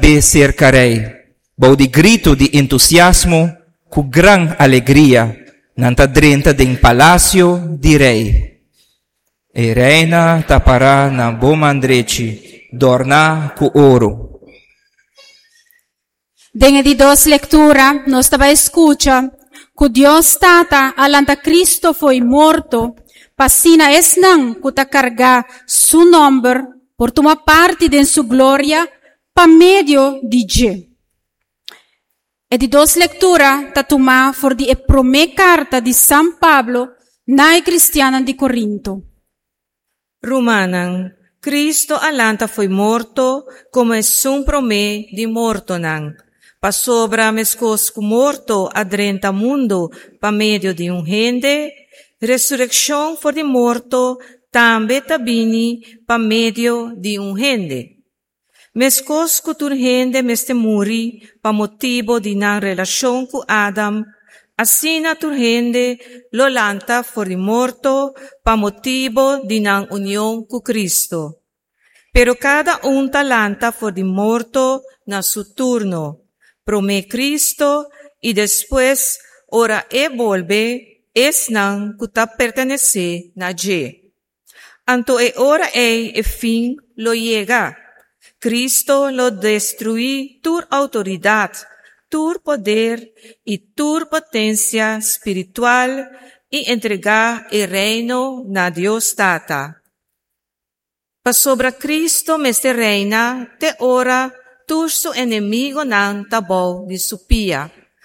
hib'é serka rei. Bou di gritu di entusiasmo, ku gran alegria, nan ta drenta den palasio di rei. E reina ta pará na bo man drechi, dòrná ku oro. Den e di dos lektura nos ta bai skucha ku Dios Tata a lanta Kristo fo'i morto pa asina esnan ku ta kargá Su nòmber por tuma parti den Su gloria pa medio di dje. E di dos lektura ta tumá for di e promé karta di San Pablo na e kristiannan di Korinto. Rumannan, Cristo a lanta fo'i morto como esun promé di mortonan, pasobra meskos ku morto a drenta mundu pa medio di un hende, resurekshon for di morto tambe ta bini pa medio di un hende. Meskos ku tur hende mester muri pa motibu di nan relashon ku Adam, asina tur hende lo lanta for di morto pa motibu di nan union ku Kristu. Pero kada un ta lanta for di morto na su turno, promé Kristu i despues, ora e bolbe, esnan ku ta pertenesé na dje. Anto e ora ei e fin lo yega. Cristo lo destruí tur outoridat, tur poder i tur potensia spiritual i entregá e Reino na Dios Tata. Pasobra Cristo mester reina te ora tur su enemigonan ta bou di su pia.